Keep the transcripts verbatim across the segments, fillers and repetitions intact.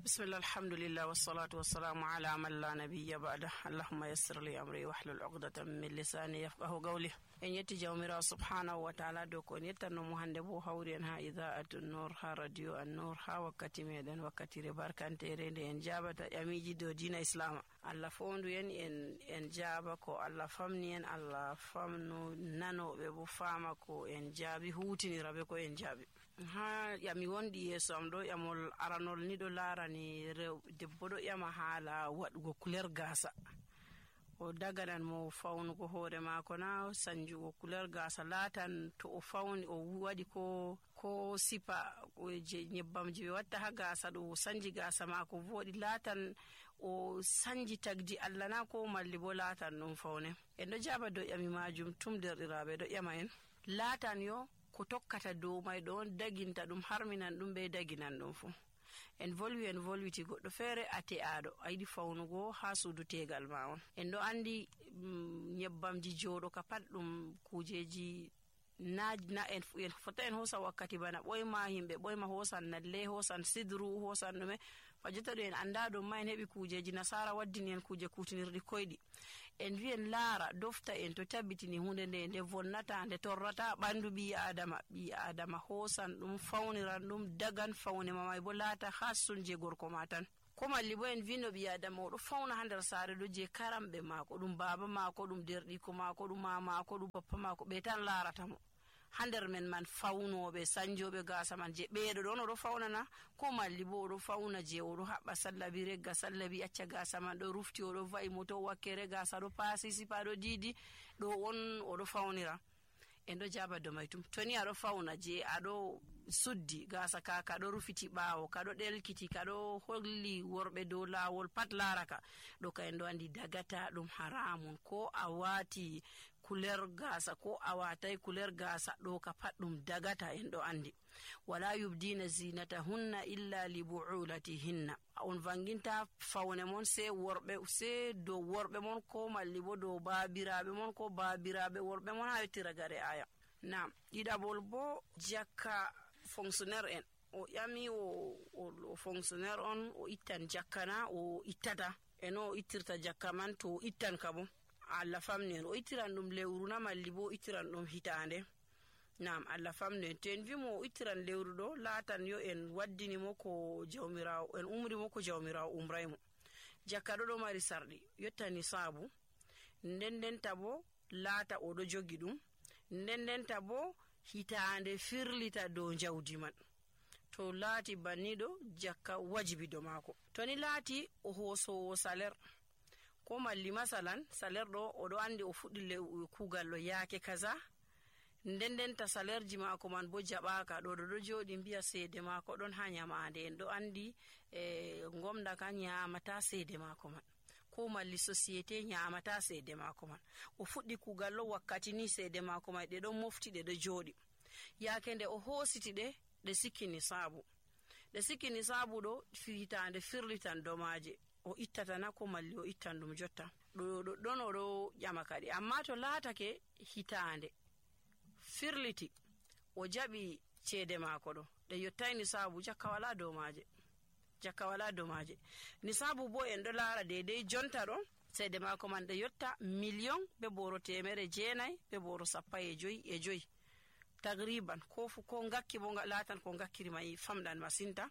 Bismillah, alhamdulillah, wassalatu wassalamu ala man la nabiyya ba'da. Allahumma yassir li amri wahlul uqdatan min lisani yafqahu qawli. En yetti Jawmiraawo subhanahu wa ta'ala dow ko en yettanno mo hannde bo hawri en ha Idaa'atu Nur, ha Radio An-Nur, ha wakkati meɗen, wakkatire barkantere nde en jaabata ƴamiiji dow diina Islaama. Allah fowndu en, en, en jaaba ko Allah famni en, Allah famnu nanooɓe bo faama ko en jaabi, huutinira be ko en jaabi. Ha ƴami wonɗi yeeso am ɗo, ƴamol aranol ni ɗo laarani rew-, debbo ɗo ƴama haala waɗugo kuler gaasa. O daganan mo fawnugo hoore maako na, sanjugo kuler gaasa, laatan to o fawni, o waɗi ko, ko sipa, ko je nyebbam je ɓe watta ha gaasa ɗo, o sanji gaasa maako vooɗi, laatan o sanji tagdi Allah na, ko malli bo laatan ɗum fawne. En ɗo jaaba dow ƴami maajum tum, derɗiraaɓe ɗo ƴama en. Laatan yo ko tokkata dow may ɗo on daginta ɗum, harminan ɗum be daginan ɗum fu. En volwi, en volwiti goɗɗo feere a te'aaɗo, a yiɗi fawnugo ha suudu teegal ma on. En ɗo andi, mm, nyebbamji jooɗo ka pat ɗum kuujeji na, na en fu-, en fota en hoosa wakkati bana ɓoyma, himɓe ɓoyma hoosan nalle, hoosan sidru, hoosan ɗume. Fa jotta ɗo en anda ɗum ma en heɓi kuujeji nasaara waddini en kuuje kuutinirɗi koyɗi. En vi en laara, dofta en to tabitini hunde nde, nde vonnata, nde torrata ɓandu ɓii Adama. Ɓii Adama hoosan ɗum, fawniran ɗum, dagan fawne ma may bo laata hassun je gorko ma tan. Ko malli bo en vi no ɓii Adama o ɗo fawna ha nder saare ɗo je karamɓe maako, ɗum baaba maako, ɗum derɗiko maako, ɗum ma maako, ɗum bappa maako, ɓe tan laarata mo. Ha nder men man fawnooɓe, sanjooɓe gaasa man, je ɓeeɗo ɗon o ɗo fawnana, ko malli bo o ɗo fawna je o ɗo haɓɓa sallabi, regga sallabi, acca gaasa man ɗo rufti, o ɗo va'i mo to wakkere gaasa ɗo paasi, sipa ɗo diidi, ɗo on o ɗo fawnira. En ɗo jaaba dow may tum. To ni a ɗo fawna je a ɗo suddi gaasa ka, ka ɗo rufiti ɓaawo, ka ɗo ɗelkiti, ka ɗo holli worɓe dow laawol pat laara ka. Ɗo ka en ɗo andi dagata ɗum haramun. Ko a waati kuler gaasa, ko a waatay kuler gaasa, ɗo ka pat ɗum dagata, en ɗo andi. Wala yubdina zinatahunna illa li bu'ulatihinna. On vanginta fawne mon se worɓe, se dow worɓe mon, ko malli bo dow baabiraaɓe mon, ko baabiraaɓe worɓe mon, ha yotti ragare aya. Naam, ɗiɗaɓol bo jakka fonctionnaire en. O ƴami o, o, o fonctionnaire on, o ittan jakka na, o ittata. E no o ittirta jakka man, to o ittan ka bo. Allah famni en, o ittiran ɗum lewru na, malli bo o ittiran ɗum hitaande. Naam, Allah famnu en. To en vi mo o ittiran lewru ɗo, laatan yo en waddini mo ko Jawmiraawo, en umri mo ko Jawmiraawo umray mo. Jakka ɗo ɗo mari sarɗi, yotta nisaabu, nden ndenta bo laata o ɗo jogi ɗum, nden ndenta bo hitaande firlita dow jawdi man. To laati banni ɗo, jakka wajibi dow maako. To ni laati o hoosoowo salaire, ko malli masalan, salaire ɗo, o ɗo andi o fuɗɗi lew-, kuugal ɗo yaake kaza. Nden ndenta salaireji maako man bo jaɓaaka. Ɗo, ɗo, ɗo jooɗi mbiya seede maako ɗon ha nyamaande. En ɗo andi, e, ngomna ka nyamata seede maako man. Ko malli société nyamata seede maako man. O fuɗɗi kuugal ɗo wakkati ni seede maako man ɗe ɗon mofti, ɗe ɗo jooɗi. Yaake nde o hoositi ɗe, ɗe sikki nisaabu. Ɗe sikki nisaabu ɗo, fi-, hitaande firlitan domaaje. O ittata na ko malli o ittan ɗum jotta. Ɗo, ɗo, ɗon o ɗo ƴama kadi. Amma to laatake hitaande firliti, o jaɓi ceede maako ɗo, ɗe yottay nisaabu, jakka wala dow maaje. Jakka wala dow maaje. Nisaabu bo en ɗo laara deydey jonta ɗo, ceede maako man ɗe yotta miliyon be booro teemere jeenay be booro sappo e joy e joy. Tagriban, ko fu, ko ngakki bo nga-, laatan ko ngakkiri may famɗan masinta.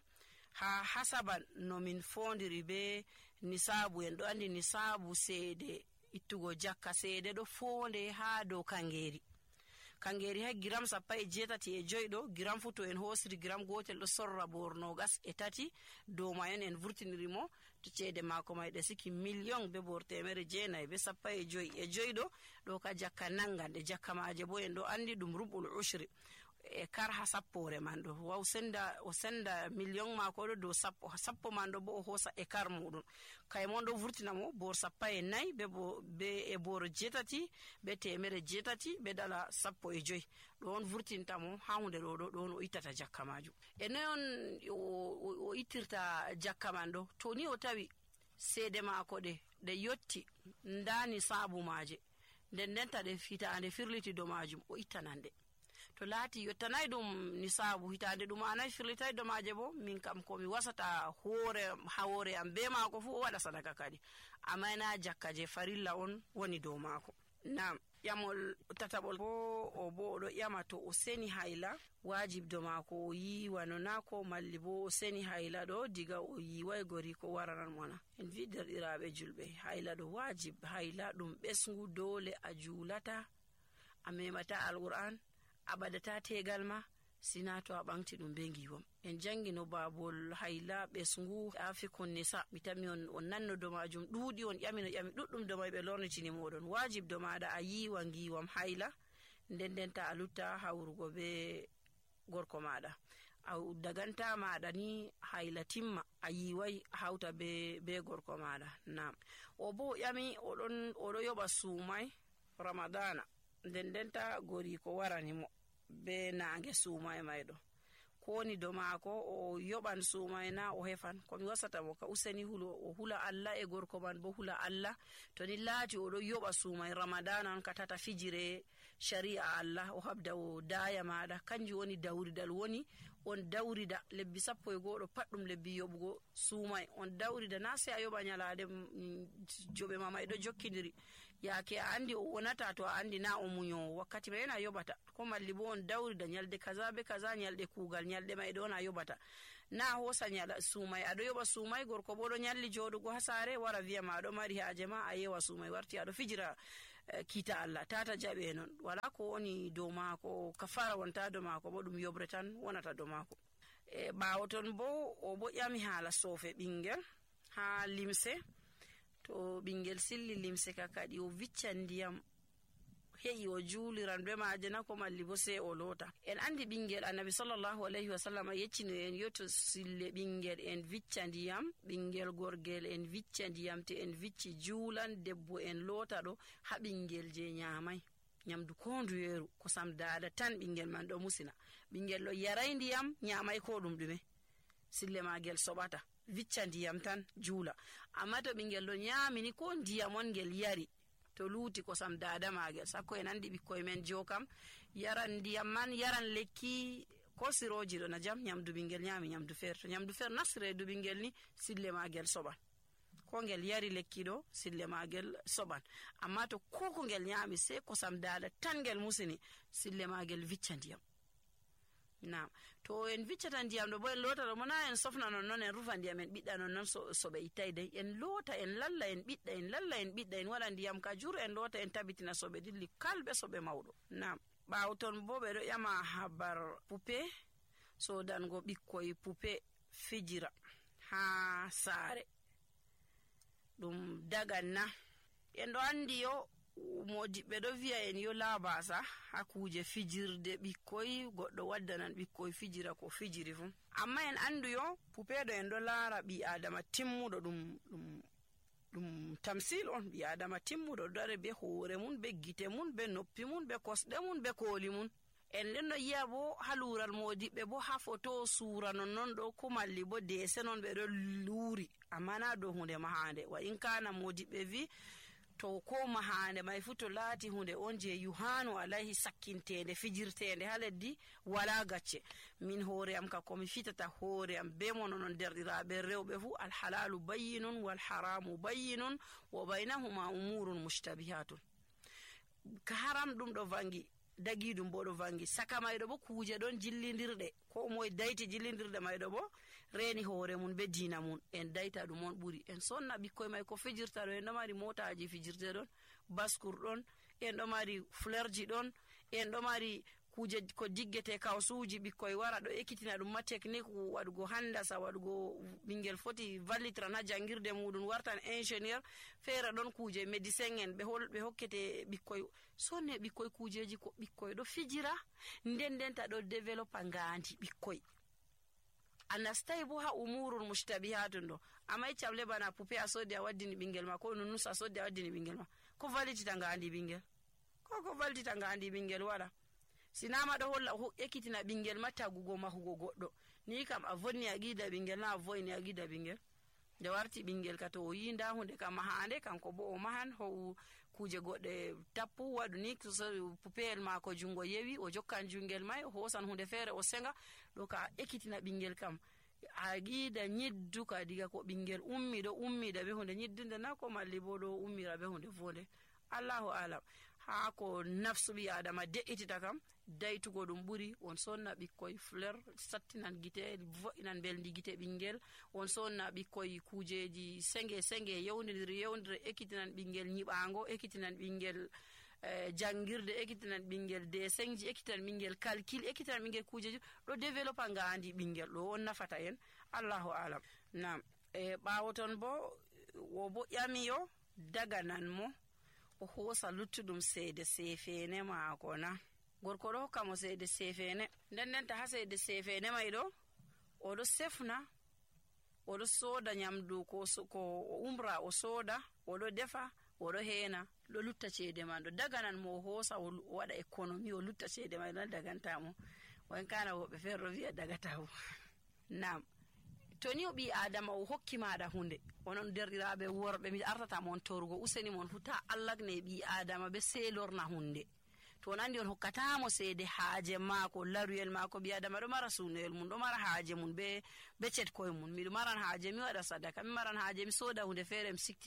Ha hasaban no min foondiri be nisaabu, en ɗo andi nisaabu seede ittugo jakka, seede ɗo foonde ha dow kangeeri. Kangeeri hay giram sappo e jeetati e joy ɗo, giram fu to en hoosiri giram gootel ɗo sorra boor noogas e tati, dow mayon en vurtiniri mo, to ceede maako may ɗe siki miliyon be boor teemere jeenay be sappo e joy e joy ɗo, ɗo ka jakka nangan ɗe, jakka maaje bo en ɗo andi ɗum rubul ushri. E kar ha sappoore man ɗo. Wa o senda, o senda miliyon maako ɗo dow sappo. Ha sappo man ɗo bo o hoosa e kar muɗum. Kay mon ɗo vurtina mo boor sappo e nay be bo-, be e boor jeetati, be teemere jeetati, be dala sappo e joy. Ɗo on vurtinta mo ha hunde ɗo, ɗo, ɗo on o ittata jakka maajum. E noy on o, o, o ittirta jakka man ɗo? To ni o tawi seede maako ɗe, ɗe yotti, nda nisaabu maaje. Nden ndenta ɗe hitaande firliti dow maajum, o ittanan ɗe. To To laati yottanay ɗum nisaabu hitaande ɗum, a nayi firlitay domaaje bo, min kam ko mi wasata hoore, ha hoore am be maako fu, o waɗa sadaka kadi. Amma na jakka je farilla on woni dow maako. Naam, ƴamol tataɓol bo, o bo o ɗo ƴama to o seni hayla, waajib dow maako o yiiwa no na ko malli bo o seni hayla ɗo diga o yiiway gori ko waranan mo na. En vi derɗiraaɓe julɓe, hayla ɗo waajib, hayla ɗum ɓesngu doole a juulata, a memata Alqur'an, a ɓadata tegal ma, sina to a ɓaŋgti ɗum be ngiiwam. En jaŋgi no baabol hayla ɓesngu Afikun Nisa. Mi tammi on, on nanno do maajum ɗuuɗi, on ƴami no ƴami ɗuɗɗum do may ɓe lornitini mooɗon. Waajib do maaɗa a yiiwa ngiiwam hayla, nden nden ta a lutta hawrugo be gorko maaɗa. A daganta maaɗa ni hayla timma, a yiiway a hawta be, be gorko maaɗa. Naam. O bo ƴami, o ɗon, o ɗo yoɓa suumay Ramadana. Nden nden ta gori ko warani mo be naange suumay may ɗo. Ko woni do maako, o yoɓan suumay na o hefan? Ko mi wasata mo ka useni hulo, o hula Allah e gorko man bo hula Allah. To ni laati o ɗo yoɓa suumay Ramadana on ka tata fijire shari'a Allah, o habda o daaya maaɗa. Kanjum woni dawridal woni, on dawrida lebbi sappo e go'o ɗo pat ɗum lebbi yoɓugo suumay. On dawrida na sey a yoɓa nyalaade, mm, joɓe ma may ɗo jokkindiri. Yaake a andi o wonata to a andi na o munyoowo. Wakkati may on a yoɓata. Ko malli bo on dawrida nyalde kaza be kaza, nyalɗe kuugal, nyalɗe may ɗo on a yoɓata. Na hoosa nyala suumay, a ɗo yoɓa suumay, gorko bo ɗo nyalli jooɗugo ha saare, wara vi'a ma a ɗo mari haaje ma, a yewa suumay, warti a ɗo fijira, eh, kiita Allah, tata jaɓe non. Wala ko woni dow maako, kafaara wonta dow maako, bo ɗum yoɓre tan wonata dow maako. E ɓaawo ton bo, o bo ƴami haala soofe ɓingel, haa limse. To ɓingel silli limse ka kadi, o viccan ndiyam, he'i o juuliran be maaje na ko malli bo sey o loota. En andi ɓingel Annabi sallallahu alayhi wa sallam yeccino en yo to sille ɓingel en vicca ndiyam, ɓingel gorgel en vicca ndiyam, te en vicci juulan, debbo en loota ɗo, haa ɓingel je nyaamay nyamdu ko nduyeeru, kosam daada tan ɓingel man ɗo musina. Ɓingel ɗo yaray ndiyam, nyaamay ko ɗum ɗume. Sille maagel soɓata, vicca ndiyam tan, juula. Amma to ɓingel ɗo nyaami ni ko ndiyam on ngel yari, to luuti kosam daada maagel, sakko en andi ɓikkoy men jo kam, yaran ndiyam man, yaran lekki, ko sirooji ɗo na jam, nyamdu ɓingel nyaami nyamdu feere. To nyamdu feere nasti reedu ɓingel ni, sille maagel soɓan. Ko ngel yari lekki ɗo, sille maagel soɓan. Amma to ko ko ngel nyaami, sey kosam daada tan ngel musini, sille maagel vicca ndiyam. Naam. To en viccata ndiyam ɗo, bo en loota ɗo, mo na en sofna non non, en rufa ndiyam, en ɓiɗɗa non non, so, soɓe ittay dey. En loota, en lalla, en ɓiɗɗa, en lalla, en ɓiɗɗa, en waɗa ndiyam ka jur, en loota, en tabitina soɓe dilli kalɓe soɓe mawɗo. Naam. Ɓaawo ton bo ɓe ɗo ƴama habar pupe, sodango ɓikkoy pupe fijira haa saare. Ɗum dagan na? En ɗo andi yo, moodiɓɓe ɗo vi'a en yo laabasa haa kuuje fijirde ɓikkoy, goɗɗo waddanan ɓikkoy fijira ko fijiri fu. Amma en andu yo, pupeeɗo en ɗo laara ɓii Aadama timmuɗo ɗum, ɗum, ɗum tamsil on. Ɓii Aadama timmuɗo ɗo dare be hoore mun, be gite mun, be noppi mun, be kosɗe mun, be kooli mun. En ɗon no yi'a bo haa luural moodiɓɓe bo haa foto suura non non ɗo, ko malli bo deese non ɓe ɗo luuri. Amma na dow hunde mahaande. Wa in kana moodiɓɓe vi, to ko mahaande may fu to laati hunde on je yuhanu alayhi sakkinteende, fijirteende haa leddi, wala gacce. Min hoore am ka ko mi fitata hoore am be mono non derɗiraaɓe rewɓe fu, al halalu bayyinun wal haramu bayyinun wa baynahuma umurun mushtabihatun. Ka haram ɗum ɗo vangi, dagiɗum bo ɗo vangi. Saka mayɗo bo kuuje ɗon jillindirɗe. Ko moye dayti jillindirɗe mayɗo bo reeni hoore mun be diina mun. En dayta ɗum on ɓuri. En sonna ɓikkoy may ko fijirta ɗo. En ɗo mari mootaaji fijirte ɗon, baskur ɗon, en ɗo mari fleurji ɗon, en ɗo mari kuuje ko diggete, kawsuuji ɓikkoy wara ɗo ekkitina ɗum ma technique waɗugo handasa, waɗugo ɓingel foti vallitiran haa janngirde muɗum, wartan ingénieur, feere ɗon kuuje médecin en ɓe hol-, ɓe hokkete ɓikkoy. Sonne ɓikkoy kuujeeji ko ɓikkoy ɗo fijira, nden nden ta ɗo développa ngaandi ɓikkoy. A nastay bo haa umurul mushtabihatun ɗo. Amma iccam le bana pupe a soddi a waddini ɓingel ma, ko nunus a soddi a waddini ɓingel ma. Ko vallitita ngaandi ɓingel? Ko, ko vallitita ngaandi ɓingel wala. Sina ma ɗo holla, ho-, ekkitina ɓingel ma tagugo mahugo goɗɗo. Ni kam a vonni a gida ɓingel na, a voyni a gida ɓingel. Nde warti ɓinngel ka to o yii nda hunde ka mahaande, kanko bo o mahan, ho'u kuuje goɗɗe tappu, waɗu ni, so, so pupeyel maako junngo yewi, o jokkan junngel may, o hoosan hunde feere, o senga, ɗo ka ekkitina ɓinngel kam. A yiida ñiddu ka diga ko ɓinngel ummi ɗo, ummiida be hunde ñiddunde na ko malli bo ɗo ummira be hunde fonde. Allahu alam. Haa ko nafsu ɓii Aadama de'itita kam, daytugo ɗum ɓuri. On sonna ɓikkoy fleur, sattinan gite, vo'inan mbelndi gite ɓinngel. On sonna ɓikkoy kuujeeji senge, senge, yewndindiri, yewndira, ekkitinan ɓinngel ñiɓaango, ekkitinan ɓinngel, eh, janngirde, ekkitinan ɓinngel dessinji, ekkitinan ɓinngel calcul, ekkitinan ɓinngel kuujeeji. Ɗo développa ngaandi ɓinngel, ɗo on nafata en. Allahu alam. Naam. E ɓaawo ton bo, wo bo ƴami yo daganan mo, o hoosa luttuɗum seede seefeene maako na? Gorko ɗo hokka mo seede seefeene. Nden nden ta haa seede seefeene may ɗo, o ɗo sefna, o ɗo sooda ñamdu ko so-, ko o umra, o sooda, o ɗo defa, o ɗo heena, ɗo lutta ceede man ɗo. Daganan mo o hoosa, o lu-, o waɗa économie, o lutta ceede man ɗo, daganta mo. Wa in kana woɓɓe feere ɗo wi'a dagata mo. Naam. To ni o ɓii Aadama o hokki maaɗa hunde, onon derɗiraaɓe worɓe, mi artata mon torugo, useni mon fu ta allagne ɓii Aadama be seelorna hunde. To on anndi on hokkata mo seede haaje maako, laruyel maako, ɓii Aadama ɗo mara suunoyel mum, ɗo mara haaje mum be, be ceɗkoy mum. Miɗo maran haaje, mi waɗa sadaka, mi maran haaje, mi sooda hunde feere, mi sikti